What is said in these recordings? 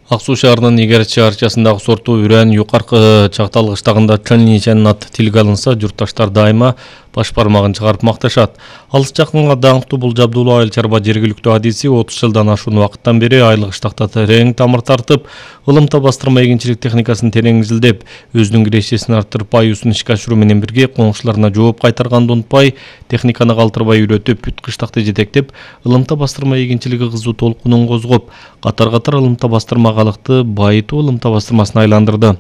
Ак Суу шаарынын Игерчи арчасындагы сорту Үрөн юкаркы Чактал кыштагында Чөнничен аты тилге алынса, журтташтар дайыма баш бармагын чыгарып макташат. Алыс жакынга даңктуу бул жабдуулуу айыл чарба жергиликтүү адиси 30 жылдан ашуун убакыттан бери айыл кыштакта терең тамыр тартып, ылымта бастырма эгинчилик техникасын терең изилдеп, өзүнүн кирешесин арттырып, аюусун ишке ашыруу менен бирге коңшуларына жооп кайтарганды унутпай, техниканы калтырбай үйрөтүп, бүт кыштакты жетектеп, ылымта бастырма эгинчилиги кызуу толкунун козгоп, катар-катар ылымта бастырма калыкты байытуу ылымта бастырмасына айландырды.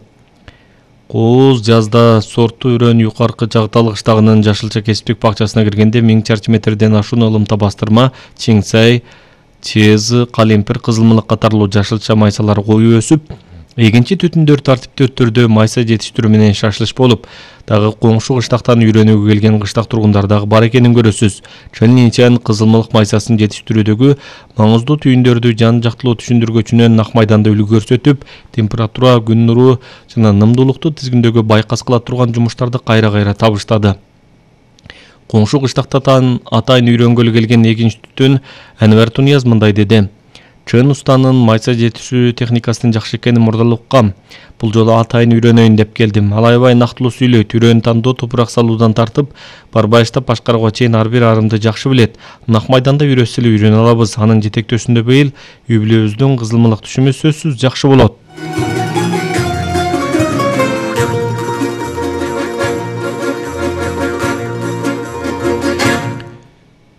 Кооз жазда сорту Үрөн юкаркы Чактал кыштагынын жашылча кесиптик бакчасына киргенде 1000 чарчы метрден ашуун ылымта бастырма, чиңсай, чезы, калемпир, кызылмылык катарлуу жашылча майсалар коюу өсүп, эгинчи түтүндөр тартиптүү өттөрдө майса жетиштирүү менен шашылыш болуп, дагы коңшу кыштактан үйрөнүүгө келген кыштак тургундар дагы бар экенин көрөсүз. Чөнничен кызылмылык майсасын жетиштирүүдөгү маңыздуу түйүндөрдү жан жактылуу түшүндүргөчүнөн Ак майданда үлгү көрсөтүп, температура, күн нуру жана нымдуулукту тизгиндөөгө байкас кыла турган жумуштарды кайра-кайра табыштады. Коңшу кыштактан атайын үйрөнгөлү келген эгинчи түтүн Анвар Тунияз мындай деди. Чөн устанын майса жетишүү техникасынын жакшы экенин мурдалы уккам. Бул жолу атайын үйрөнөйүн деп келдим. Ал аябай нактылуу сүйлөйт, үрөн тандоо топурак салуудан тартып, барбайыштап башкарууга чейин ар бир арымды жакшы билет. Ак майданда үйрөтсө эле үйрөнө алабыз. Анын жетектөөсүндө быйыл үй бүлөбүздүн кызылмылык түшүмү сөзсүз жакшы болот.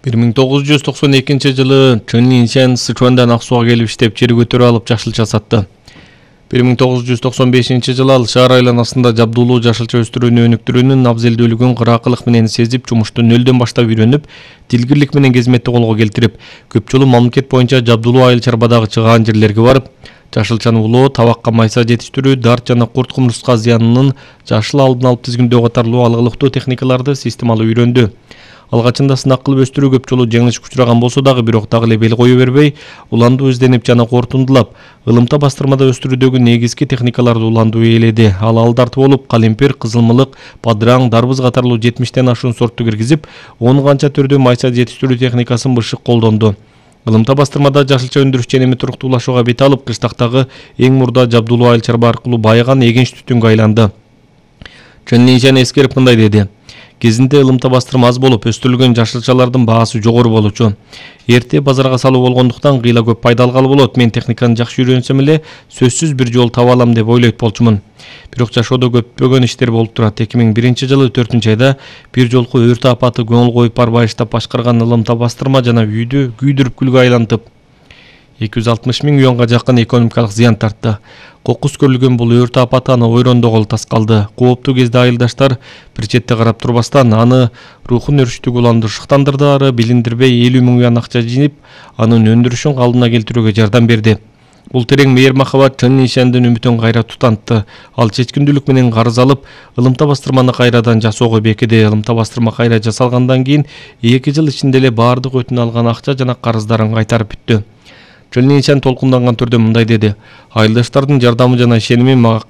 1992 жылы Чөнничен Сычуандан Ак Сууга келип иштеп, жер көтөрүп алып жашылча сатты. 1995 жылы ал шаар айланасында жабдуулуу жашылча өстүрүүнү өнүктүрүүнүн абзелдүүлүгүн кыракылык менен сезип, жумушту нөлдөн баштап үйрөнүп, дилгирлик менен кезметти колго келтирип, көп жолу мамлекет боюнча жабдуулуу айыл чарбадагы чыгаан жерлерге барып, жашылчаны улоо, табакка майса жетиштирүү, дарт жана курт кумурска зыянынын жашыл алдын алып тизгиндөө катарлуу алгылыктуу техникаларды системалуу үйрөндү. Алгачында сынак кылып өстүрүү көп жолу жеңилишке учураган болсо дагы, бирок дагы эле бел кое бербей, уландуу изденип жана кортундулап, ылымта бастырмада өстүрүүдөгү негизги техникаларды уландуу ээледи. Ал алдарты болуп, калемпир, кызылмылык, падраң, дарбыз катарлуу 70тен ашуун сортту киргизип, 10 канча түрдүү майса жетиштирүү техникасын бышык колдонду. Ылымта бастырмада жашылча өндүрүш ченеми туруктуулашууга бет алып, кыштактагы эң мурда жабдуулуу айыл чарба аркылуу байыган эгинч түтүнгө айланды. Чөнничен эскерип мындай деди. Кезинде ылымта бастырма аз болуп, өстүрүлгөн жашылчалардын баасы жогору болчу. Эрте базарга салуу болгондуктан кыйла көп пайда алгалы болот. Мен техниканы жакшы үйрөнсөм эле сөзсүз бир жол таба алам деп ойлойт болчумун. Бирок жашоодо көппөгөн иштер болуп турат. 2001 жылы 4-айда бир жолку өрт апаты көңүл коюп барбайыштап башкарган ылымта бастырма жана үйдү күйдүрүп күлгө айлантып, 260 000 юанга жакын экономикалык зыян тартты. Кокус көрүлгөн бул өрт апаты аны ойрондогол таскалды. Кооптуу кезде айылдаштар бир четте карап турбастан, аны рухун өрүштүгү уланды шыктандырды, ары билиндирбей 50 000 юан акча жыйып, анын өндүрүшүн калыбына келтирүүгө жардам берди. Бул терең мейир махабат Чөнничендин үмүтүн кайра тутантты. Ал чечкиндүүлүк менен карыз алып, ылымта бастырманы кайрадан жасоого бекиди. Ылымта бастырма кайра жасалгандан кийин 2 жыл ичинде эле баардык өтүнө алган акча жана карыздарын кайтарып бүттү. Чөнничен толкунданган түрдө мындай деди. Айылдаштардын жардамы жана ишеними мага